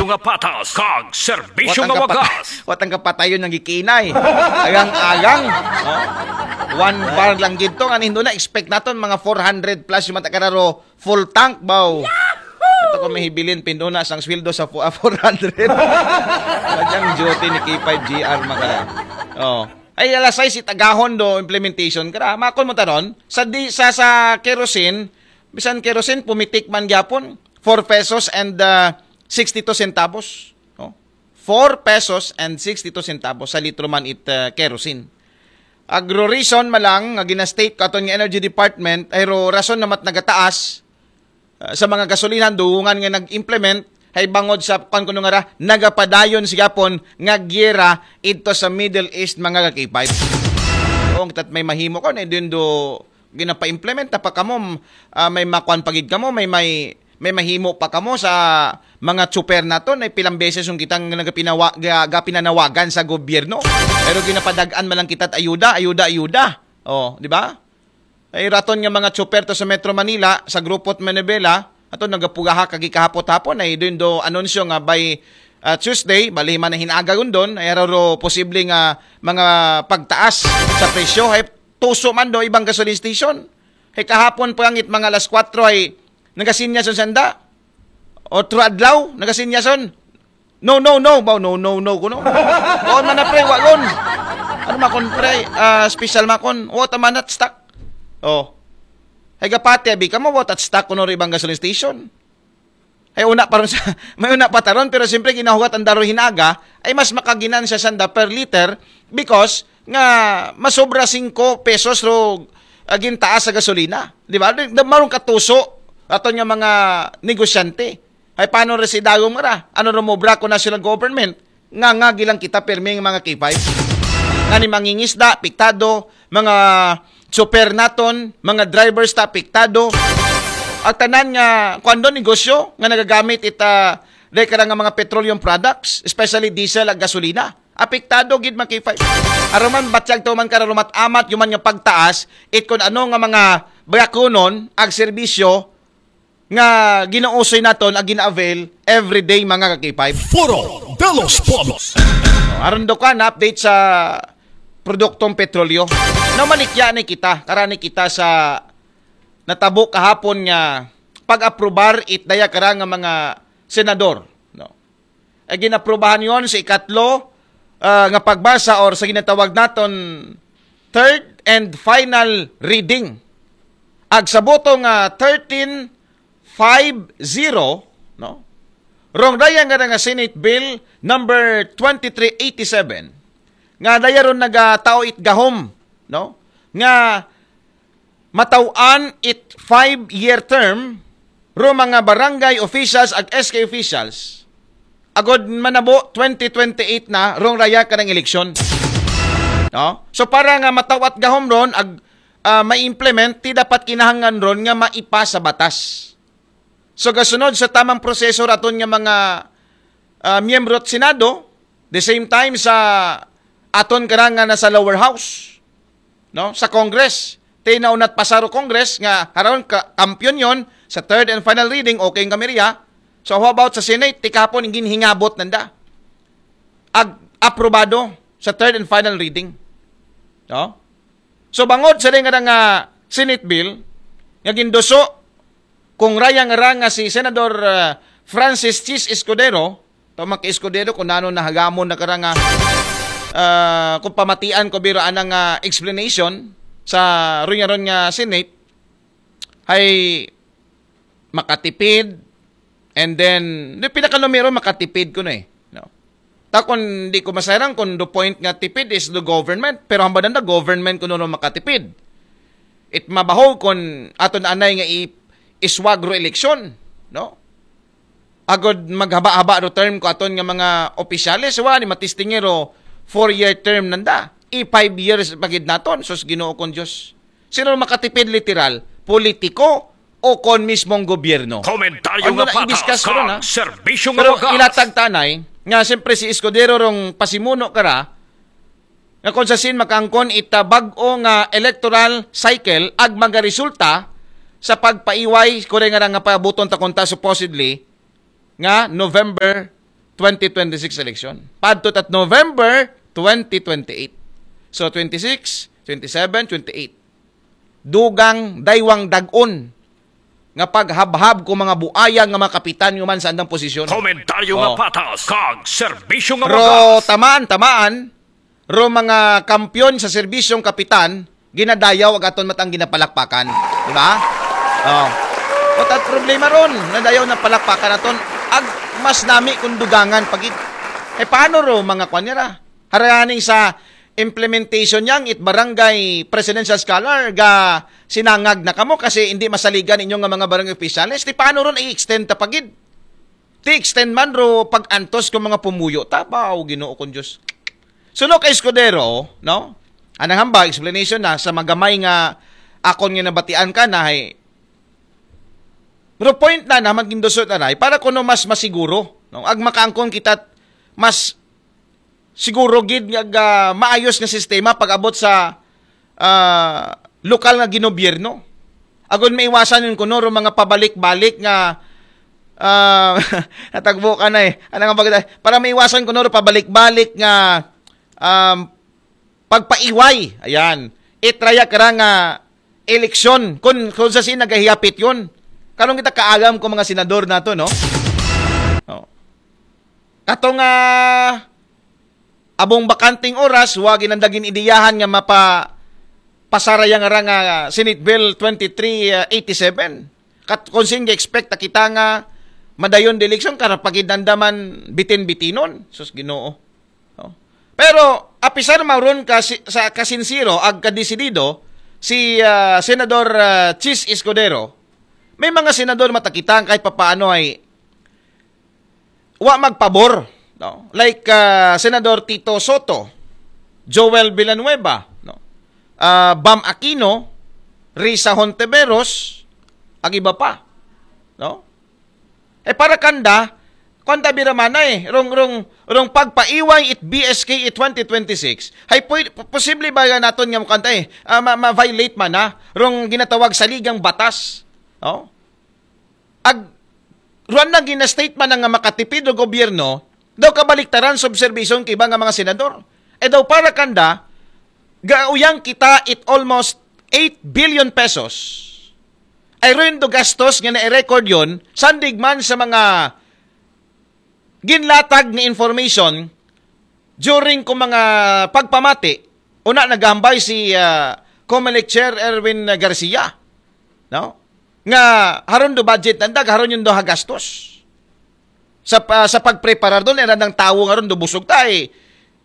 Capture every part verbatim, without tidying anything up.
Nga patas kag serbisyo nga wagas. Wat ang kapatayon nga gikinay. Agang-agang. Oh. One bar lang gid to. Nga nindo na, expect naton mga four hundred plus yung mata kararo. Full tank, baw. Ito ko mahibilin, pinduna sang sweldo sa fu- ah, four hundred. Madyang duty ni K five G R, makara. Oh. Ay, alasay si tagahon do implementation kara. Makon mo taron, sa, di, sa, sa kerosene, bisan kerosene, pumitik man gyapon, four pesos and uh, sixty-two centavos. Oh. Four pesos and sixty-two centavos sa litro man it uh, kerosene. Agro reason malang nga ginastate ko aton nga Energy Department ay ro rason namat nagataas uh, sa mga gasolina duungan nga nag-implement ay bangod sa kan kuno nga ra nagapadayon sigapon nga giyera idto sa Middle East, mga kakipay. Kung tat may mahimo ko na din do ginapa-implement na pa kamo, ah, may makuan pagid kamo, may may may mahimo pa kamo sa mga tsuper nato na pilang beses yung kitang nagapinawa, ga, gapinanawagan sa gobyerno. Pero ginapadag-an man lang kita ayuda, ayuda, ayuda. Oh, di ba? Ay raton nga mga tsuper to sa Metro Manila, sa Grupot Manibela, ato nagapugaha kagi kahapot hapon ay doon do anunsyo nga by uh, Tuesday, bali man na hinaga gundon, ay raro posible nga mga pagtaas sa presyo. Ay tuso man do ibang gasoline station. Ay kahapon pa ngit mga alas kwatro ay nagasinya sa sanda. Otro adlaw, nagasinyason. No, no, no, baw, no, no, no, kuno. Kuon man na, pre, wa yun. Ano makon, pre? Ah, special makon. Wa ta man at stock. Oh. Hay gapati, abi ka mo, wa ta stock kuno ri ibang gasoline station. Ay una pa ron sa, may una pa taron, pero siyempre ginahugat ang daro hinaga, ay mas makaginan siya sanda per liter because nga masobra singko pesos ro aging taas sa gasolina. Di ba? Di- di- Marong katuso aton nga mga negosyante. Ay paano ra si dagom ra? Ano ra mo bra ko national government? Nga nga gilang kita permi nga mga K five. Nga ni mangingisda, piktado, mga super naton, mga drivers ta piktado. At tanan nga kuando negosyo nga nagagamit ita dahil ka nga mga petroleum products, especially diesel at gasolina. Apektado gid mga K five. Aruman batyag to man kararumat amat yuman nga pagtaas, it kun ano nga mga bayakunon ag serbisyo nga ginausoy naton ag gina-avail everyday mga ka-K five. Foro de los Pueblos. Aron do ka na update sa produktong petrolyo. Na malikya ni kita, karani kita sa natabo kahapon nga pag-aprobar it daya kara nga mga senador, no? Ay ginaprubahan yon sa ikatlo ah, nga pagbasa or sa ginatawag naton third and final reading. Ag sa boto nga thirteen five zero, no? Rong daya nga nga Senate Bill number twenty-three eighty-seven nga daya ron nagatao it gahom, no? Nga mataw-an it five-year term ro mga barangay officials ag S K officials agod manabo twenty twenty-eight na rong raya kanang eleksyon. No? So para nga matawat gahom ron ag ah, ma-implement ti dapat kinahanglan ron nga maipas sa batas. So gasunod sa tamang proseso raton nga mga ah, miyembro at Senado, the same time sa aton karang nga nasa lower house, no? Sa Congress. Ti naunat pasaro Congress nga haron ka kampiyon yon sa third and final reading, okay ang kamerya. So how about sa Senate? Ti kahapon ginhingabot nanda. Ag aprobado sa third and final reading. No? So bangod sa rin nga Senate bill nga ginduso kung rayang ra nga si Senador ah, Francis Chis Escudero, tama kay Escudero kung nano nahagamon na kara nga ah, kung pamatian ko biro anang ah, explanation sa ron nga ron nga Senate ay makatipid and then di pinakanumero makatipid ko na eh. No? Ta kung di ko masayran kung the point nga tipid is the government, pero hambal na government kuno makatipid. It mabaho kung aton anay nga i iswag ro eleksyon, no? Agod maghaba-haba ro term ko aton nga mga opisyales, wa ni matistingero four-year term nanda. I five years pagid naton, sus Ginoo kong Diyos. Sino makatipid literal? Politiko o kon mismong gobyerno? Komentaryo Ano nga na, i-discuss patas ko ron, ha? Kag serbisyo nga Pero wagas. Ilatag tanay nga siyempre si Escudero rong pasimuno kara nga kung sa sin makaangkon ita bag-o nga electoral cycle ag magaresulta sa pagpaiway kore nga nga paabuton ta konta supposedly nga November twenty twenty-six election. Padto tat November twenty twenty-eight. So, twenty-six, twenty-seven, twenty-eight. Dugang daywang dagon nga paghabhab ko mga buaya nga mga kapitan human sa andang posisyon. Komentaryo nga Oh. patas, kag serbisyo nga Ro wagas. tamaan, tamaan, ro mga kampiyon sa serbisyong kapitan, ginadayaw ag aton matang ginapalakpakan. Di ba? Oh. What at problema ron? Nadayaw na palakpakan aton. Ag mas nami kung dugangan pagid. Eh, paano ro mga kwan nira? Haraning sa implementation niyang it barangay presidential scholar ga sinangag na kamo kasi hindi masaligan ninyo nga mga barangay officials. Di paano ron i-extend ta pagid? Ti extend man ro pag-antos ko mga pumuyo. Tabaw, Ginoo kong Diyos. Suno kay Escudero, no? Anang hamba, explanation na sa magamay nga akon nga nabatian ka na ay pero point na naman gindusot na ray para kuno mas masiguro, no? Ag makaangkon kita mas siguro gid nga ah, maayos nga sistema pag-abot sa ah, lokal nga ginobyerno. Agon maiwasan yun kuno ro mga pabalik-balik nga ah, natagbo ka na eh. Ano nga bagay? Para maiwasan kuno ro pabalik-balik nga um, pagpaiway. Ayan. Itraya ka ra nga eleksyon. Kung, kung sa sin nagahiyapit yun. Karong kita kaagam ko mga senador nato, no? Oh. Kato nga abong bakanting oras, wa ginandagin ideyahan nga mapa pasarayang ra nga Senate Bill twenty-three eighty-seven. Kat kung sin expect ta kita nga madayon the election, karapagidandaman bitin-bitinon. Sus Ginoo. Oh. Pero apisar mauron ka si, sa kasinsiro ag kadesidido si ah, Senador ah, Chis Escudero, may mga senador matakita ang kahit papaano ay wa magpabor, no? Like ah, Senador Tito Soto, Joel Villanueva, no? Ah, Bam Aquino, Risa Hontiveros, ag iba pa, no? Eh para kanda, kanta biramanay, rong rong rong pagpaiway it B S K it twenty twenty-six. Hay pwede, posible ba nga naton nga mukanta eh, ah, ma- ma-violate man na rong ginatawag saligang batas. Oh? Ag ruan na gina-statement na nga makatipid o gobyerno, daw kabaliktaran sa obserbasyon kay iba nga mga senador. E daw para kanda, gauyang kita it almost eight billion pesos. Ay ruin do gastos nga na-record yun, sandig man sa mga ginlatag nga information during ko mga pagpamati, una nagahambay si ah, Comelec Chair Erwin Garcia, no? Nga haron do budget nandag, haron yun do hagastos. Sa, pa- sa pagpreparar doon, era ng tawo nga ron do busog ta eh.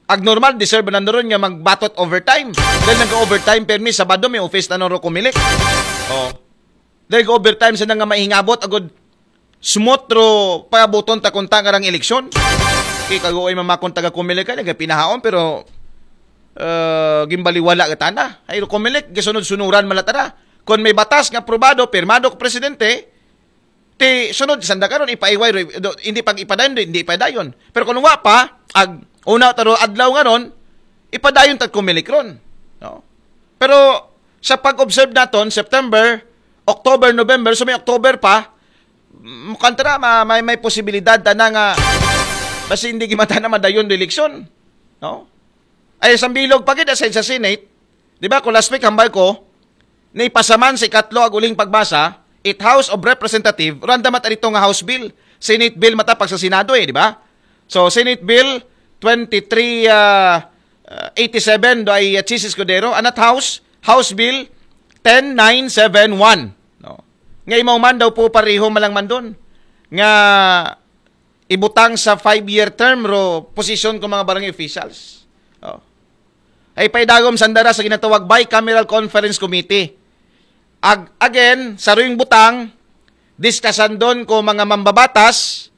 Ag normal, deserve na ron nga magbatot overtime. Dahil nag-overtime permi, Sabado may office na ro Comelec. Oh. Dahil overtime sa nga mahingabot, agod smooth ro pabuton ta kung tangarang eleksyon. Kay kagoy mamakon taga Comelec ka, nagpinahaon, pero uh, gimbaliwala ka tana. Ay, Comelec, gisunod-sunuran malatara. Kung may batas nga aprobado, pirmado ko presidente, ti sunod, sanda karon ipaiway, ro- do- hindi pag ipadayon, hindi ipadayon. Pero kung wa pa, ag una taro adlaw nga ron, ipadayon tag Comelec ron. No? Pero sa pag-observe naton, September, October, November, so may October pa, mukhang tara, ma- may, may posibilidad tana nga basi hindi gimata na madayon do eleksyon. No? Ay, sa bilog pa gid, aside sa Senate, di ba, kung last week, hambal ko, naipasaman sa ikatlo ag uling pagbasa, it House of Representative, randa mat arito nga House Bill, Senate Bill matapag sa Senado eh, di ba? So, Senate Bill twenty-three uh, uh, eighty-seven do ay uh, Chis Escudero, anat House, House Bill ten nine seven one. No? Nga imaw man daw po pareho malang man doon. Nga ibutang sa five-year term ro posisyon ko mga barangay officials. Oh. Ay paidagom sandara sa ginatawag bicameral conference committee. Ag again, sa ruing butang, diskasan doon ko mga mambabatas,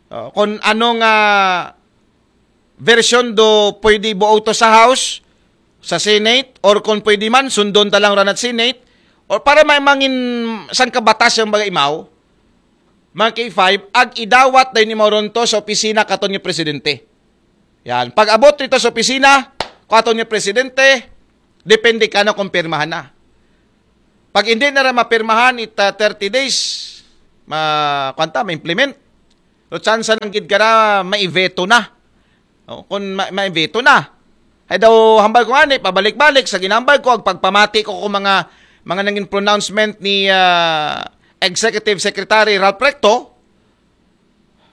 oh, kung ano nga version do pwede buoto sa House, sa Senate, or kung pwede man, sundon ta lang ranat Senate, or para may mangin sangka batas yung bagay imaw, mga K five, ag idawat dayon ni Moronto sa opisina katon ni presidente. Yan. Pag abot dito sa opisina, katon ni presidente, depende ka na kung pirmahan na. Pag hindi na ra mapirmahan it uh, thirty days, ma kwanta ma-implement. So, tsansa lang gid kara maiveto na. O, kung ma- maiveto na. Ay daw, hambal ko nga ni, pabalik-balik sa ginambal ko, ag pagpamati ko kung mga, mga nangin pronouncement ni ah, Executive Secretary Ralph Recto.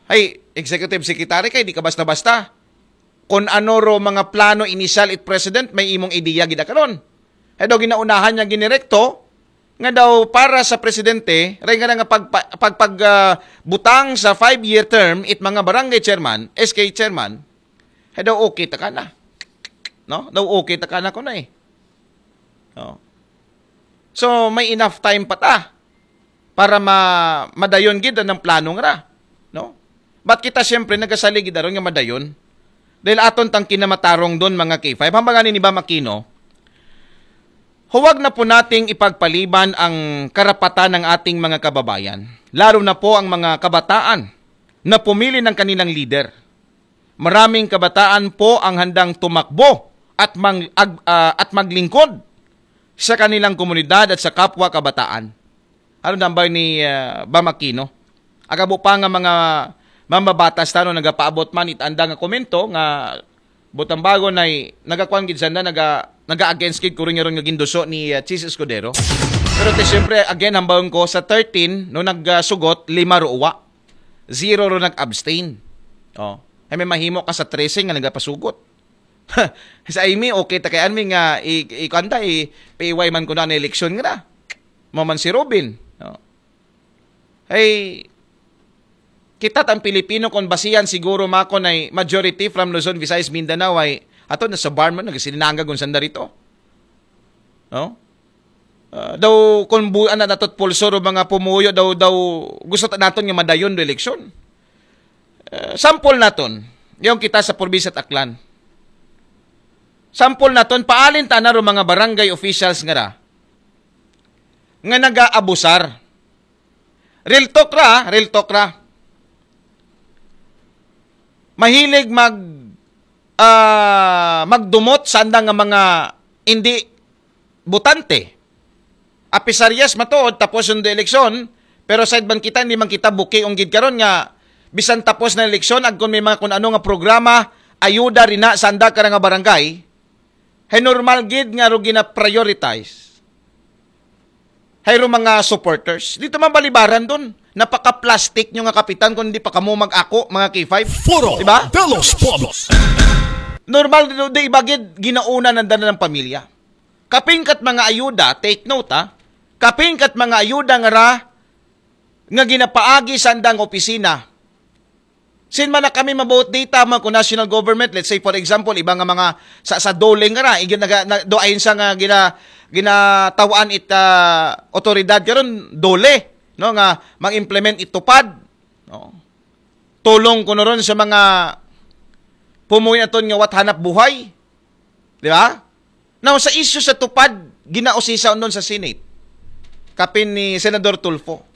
Ay, Executive Secretary kay di ka basta-basta. Kung ano ro mga plano initial it president, may imong ideya gid karon. Ay daw ginaunahan niya ginirekto, nga daw para sa presidente, ray nga nga pag, pag, pag ah, butang sa five-year term, it mga barangay chairman, S K chairman, ay daw okay ta ka na. No? Daw okay ta ka na ko na eh. No? So, may enough time pa ta para ma madayon gid ang plano nga ra. No? But kita siyempre nagasalig gid aron nga madayon. Dahil aton tang kinamatarong doon, mga K five. Hambal nga ni Bam Aquino, huwag na po nating ipagpaliban ang karapatan ng ating mga kababayan, lalo na po ang mga kabataan na pumili ng kanilang leader. Maraming kabataan po ang handang tumakbo at, mang, ag, ah, at maglingkod sa kanilang komunidad at sa kapwa kabataan. Ano nambay ni ah, Bam Aquino? Agabo pa nga mga mambabatas tano nagapaabot man it anda nga komento nga butang bago na nagakuan gid sanda naga naga-against gid kuringaron nga ginduso ni ah, Chiz Escudero. Pero te siyempre again hambawon ko sa thirteen no nagsugot lima ro uwa. Zero ro nag-abstain. Oh. Ay may mahimo ka sa tracing nga nagapasugot. Sa Amy, okay ta kay Anmi nga i, i, kanta, i, P Y man ko na eleksyon nga na. Mo man si Robin. No? Ay, kita tang Pilipino kung basihan siguro makon ay majority from Luzon, Visayas, Mindanao ay ato na sa bar man nagsilinanga kung sanda rito. No? Ah, daw kung buan na natot pulso ro mga pumuyo daw daw gusto ta naton nga madayon do eleksyon. Ah, sample naton, yung kita sa probinsya at Aklan. Sample naton, paalin ta na ro mga barangay officials nga ra nga nagaabusar. Real talk ra, real talk ra. Mahilig mag ah, magdumot sa andang nga mga hindi butante. Apisarias matuod tapos yung eleksyon, pero side man kita, hindi man kita buki unggid karon nga bisan tapos na eleksyon, agkon may mga kung ano nga programa, ayuda rin na sa anda ka nga barangay, hay normal gid nga ro gina-prioritize. Hay ro mga supporters. Dito man balibaran doon. Napaka-plastic nyo nga kapitan kung hindi pa kamo mag-ako, mga K five. Foro Diba? De los Pueblos. Normal do di ibagid ginauna ng dana ng pamilya. Kapingkat mga ayuda, take note ha. Kapingkat mga ayuda nga ra nga ginapaagi sa andang opisina. Sin man na kami mabuot data man ko national government, let's say for example, iba nga mga sa, sa dole nga ra, igin naga, na, do ayon sa nga gina, ginatawaan it ah, otoridad karon dole, no, nga mag-implement it tupad, no. Tulong ko ron sa mga pumuy aton nga wat hanap buhay, di ba? Now, sa isyu sa tupad, ginausisa nun sa Senate. Kapin ni Senador Tulfo.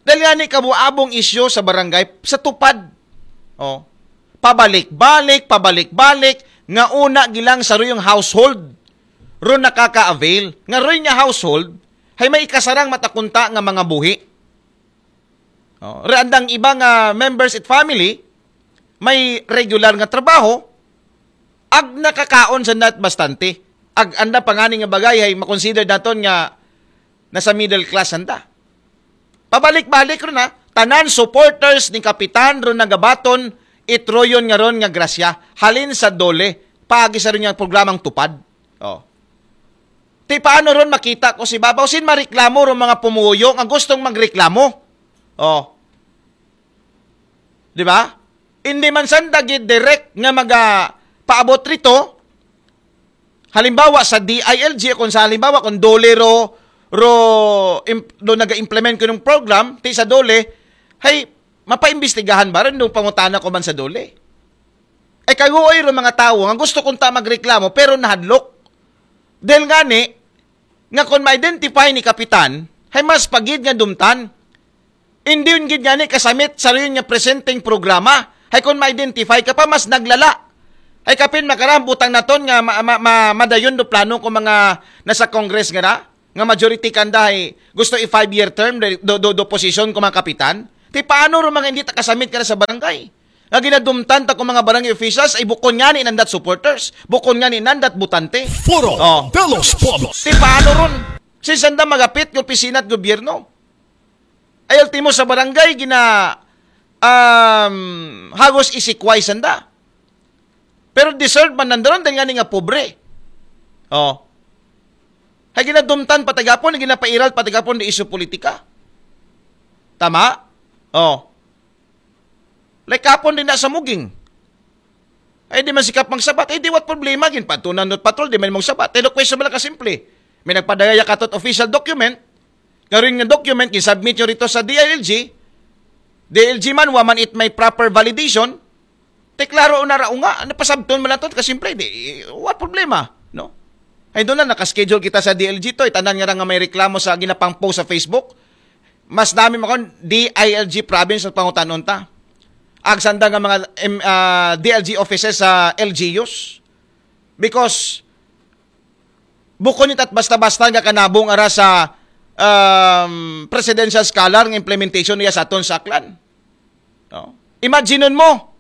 Dahil nga ni kabuabong isyu sa barangay, sa tupad. Oh. Pabalik-balik, pabalik-balik, nga una gilang sa ruyong household. Ro nakaka-avail. Nga roy nga household, hay may ikasarang matakunta nga mga buhi. Oh, re andang iba nga members it family, may regular nga trabaho, ag nakakaon sa nat bastante. Ag anda pangani nga bagay ay makonsider naton nga nasa middle class anda. Pabalik-balik ron ha, tanan supporters ni Kapitan ron nagabaton itroyon nga ron nga grasya halin sa dole paagi sa ron nga programang tupad. Oh. Ti paano ron makita ko si Babaw sin mareklamo ron mga pumuyo nga gustong magreklamo. Oh. Di ba? Hindi man sanda gid direct nga maga paabot rito. Halimbawa sa D I L G kung sa halimbawa kung dole ro ro im, do naga-implement ko ng program ti sa dole hay mapaimbestigahan ba rin nung pangutana ko man sa dole. Ay kaguoy ro mga tawo nga gusto kung ta magreklamo pero nahadlok. Dahil nga ni, nga kung ma-identify ni Kapitan, hay mas pagid nga dumtan. Hindi yun gid nga ni kasamit sa rin nga presenting programa. Hay kung ma-identify ka pa, mas naglala. Hay kapin makarambutang naton nga ma, ma, ma, madayon do plano ko mga nasa Congress nga na, nga majority kanda hay gusto i five-year term do, do, do, do position ko mga kapitan. Ti paano ron mga hindi ta kasubmit kada sa barangay? Nga ginadumtan ta kung mga barangay officials ay bukon nga ni nandat supporters, bukon nga ni nandat butante. Foro Oh. de los Pueblos. Ti paano ron? Sinsan da magapit ng opisina at gobyerno? Ay ultimo sa barangay, gina um, hagos isikway sanda. Pero deserve man nandaron dahil nga ni nga pobre. Oh. Hay ginadumtan patigapon, ginapairal patigapon di isyu politika. Tama? Oh. Like kapon din na sa muging. Ay di man sikap magsabat. Ay di what problema, gin patunan not patrol, di man mong sabat. Telo question lang kasimple. May nagpadaya katot official document. Karon nga document, gisubmit nyo rito sa D I L G. D I L G man, wa man it may proper validation. Te klaro na ra nga, napasabton man lang to, kasimple, di, what problema, no? Ay doon na, nakaschedule kita sa D I L G to, itanan nga ra nga may reklamo sa ginapang post sa Facebook. Mas dami makon D I L G province sa pangutanon ta. Agsanda nga mga M- ah, D I L G offices sa L G Us. Because bukon it at basta-basta nga kanabong ara sa um, presidential scholar nga implementation niya sa aton sa Aklan. No? Imagine mo,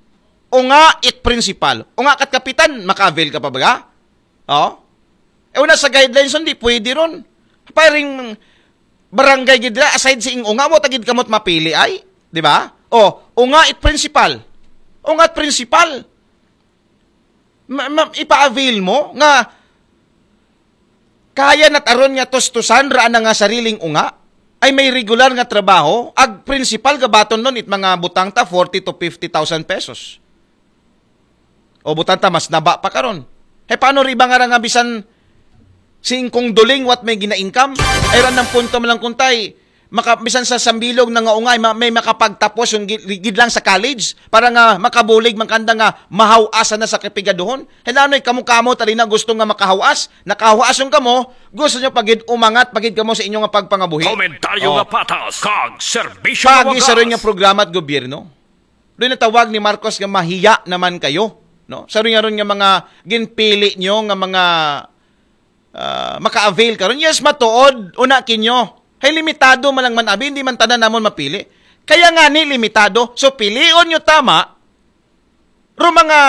unga it principal, unga kat kapitan, maka-avail ka pa ba? Oh? E una sa guidelines, hindi pwede ron. Paring barangay gid ra, aside sa ing unga mo, tagid kamot mapili ay, di ba? Oh, unga it principal. Unga it principal. Ma- ma- ipa-avail mo nga kaya nat aron nga tustusan ra na nga sariling unga ay may regular nga trabaho, ag principal gabaton nun it mga butang ta forty to fifty thousand pesos. O butang ta mas naba pa karon. He paano riba nga ra nga bisan singkong duling what may gina-income? Ay ran ng punto man lang kuntay, maka, bisan sa sambilog na nga ungay, ma- may makapagtapos yung gid, gid lang sa college para nga makabulig man kanda nga mahawasan na sa kapigaduhon. Helanoy, kamo-kamo tali na gusto nga makahawas, nakahawason kamo, gusto nyo pagid umangat pagid kamo sa inyo nga pagpangabuhi. Komentaryo Oh. Nga patas kag serbisyo Pagi nga sa rin nga wagas. Programa at gobyerno. Doon natawag ni Marcos nga mahiya naman kayo. No? Sa rin nga ron nga mga ginpili nyo nga mga ah, maka-avail karon. Yes, matuod, una kinyo. Hay limitado man lang man abi, hindi man tanan namon mapili. Kaya nga ni limitado, so pilion nyo tama, ro mga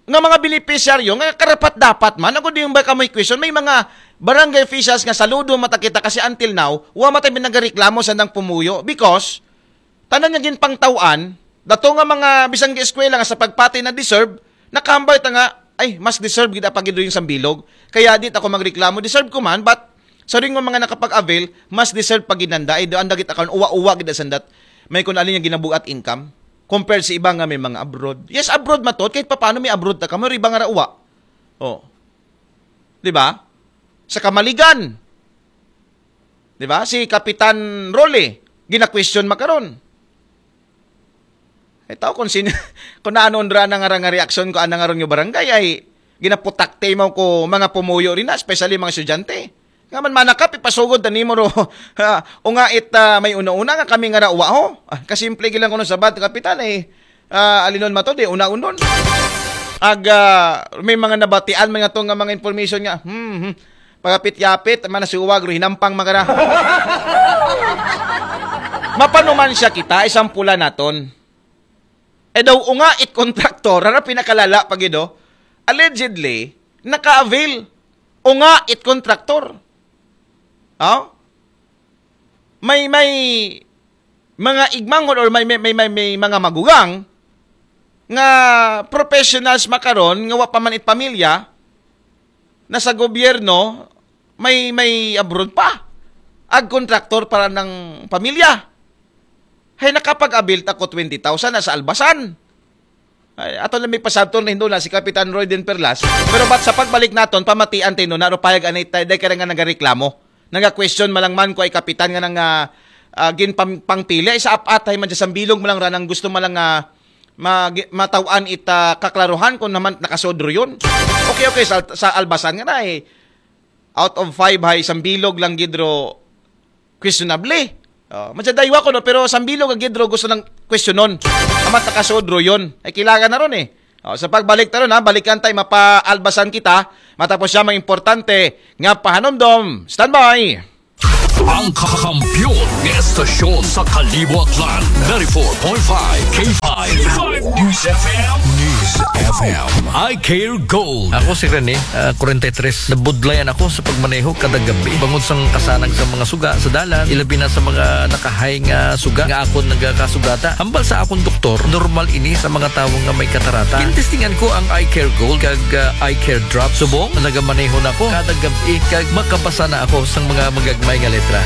nga mga beneficiaryo nga karapat dapat man, ako di yung ba kamoy question, may mga barangay officials nga saludo mata kita kasi until now, wa matay nagareklamo sa nang pumuyo because tanan nga ginpangtawan, dato nga mga bisang eskwela nga sa pagpati na deserve, nakahambay ta nga, ay, mas deserve gid pa gid yung sambilog. Kaya di ta ko magreklamo, deserve ko man, but sa ring mga nakapag-avail, mas deserve pa gid nanda, ay doon dagit akon uwa-uwa gid sandat. May kun alin yung ginabuat income compared sa iba nga may mga abroad. Yes, abroad matot, kahit paano may abroad ta kamo, iba nga ra uwa. Oh. Di ba? Sa Kamaligan. Di ba? Si Kapitan Rolly, gina-question makaron. Ay tao kung sin kung ano ra na nga nga reaksyon ko ana nga ron nga barangay ay ginaputakte mo ko mga pumuyo rin na, especially mga estudyante. Nga man manakap ipasugod ta nimo ro. Ha, o nga it ah, may una-una nga kami nga ra uwa ho. Ah, kasimple gilang kuno sabat kapitan ay ah, alinon mato di una-unon. Ag ah, may mga nabatian mga to nga mga information nga. Hmm, hmm. Pagapit-yapit, manasuwag, ro hinampang magara. Mapanuman siya kita, isang pula naton. E daw unga it kontraktor, ara pinakalala pa gid, oh. Allegedly, naka-avail. Unga it kontraktor. Oh? May, may mga igmangon or may, may, may, may, may mga magugang nga professionals makaron nga wa pa man it pamilya na sa gobyerno may, may abroad pa. Ag kontraktor para ng pamilya. Hay nakapag-abil ta ko twenty thousand na sa Albasan. Ay, ato lang may pasabton na hindo na si Kapitan Roy din Perlas. Pero bat sa pagbalik naton, pamatian tayo na, ro payag anay tayo, dahil kaya nga nagareklamo. Naga-question malangman ko ay kapitan nga nang ah, ah, gin pang, pangpili, ay sa apat ay man sa bilog mo lang ranang gusto mo lang ah, ma, gi- matawaan ita kaklaruhan kung naman nakasodro yun. Okay, okay, sa, sa Albasan nga na eh. Out of five hay, isang bilog lang gidro questionable. Oh, madya daywa ko no, pero isang bilog ang gidro gusto ng questionon. Amat nakasodro yun. Ay kailangan na ron eh. Oh, sa pagbalik ta ron ha, balikan tayo, mapaalbasan kita. Matapos siya mga importante nga pahanomdom. Standby! Ang kakampiyon nga estasyon sa Kalibo, Aklan, ninety-four point five K five News F M. News F M. Eye Care Gold. Ako si Rene, ah, forty-three. Nabudlayan ako sa pagmaneho kada gabi. Bangod sang kasanag sa mga suga sa dalan, ilabi na sa mga nakahay nga suga nga akon nagakasugata. Hambal sa akon doktor, normal ini sa mga tawo nga may katarata. Gintestingan ko ang Eye Care Gold kag, ah, Eye Care Drop. Subong, nagamaneho na ko kada gabi kag makabasa na ako sang mga magagmay nga letra.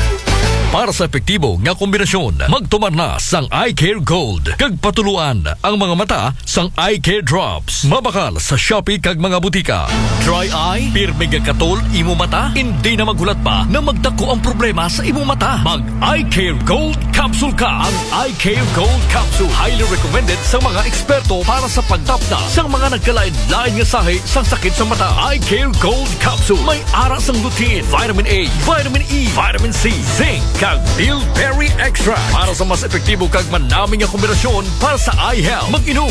Para sa epektibo nga kombinasyon, magtumar na sang Eye Care Gold kag patuluan ang mga mata sang Eye Care Drops. Mabakal sa Shopee kag mga butika. Dry eye, pirmi nga katol imo mata, hindi na maghulat pa na magdako ang problema sa imo mata. Mag Eye Care Gold Capsule ka. Ang Eye Care Gold Capsule highly recommended sa mga eksperto para sa pagtapna sa mga nagkalain-lain nga sahi sang sakit sa mata. Eye Care Gold Capsule may ara sang lutein, vitamin A, vitamin E, vitamin C, zinc, kag bilberry extract para sa mas epektibo kag manami nga kombinasyon para sa eye health. Mag-inom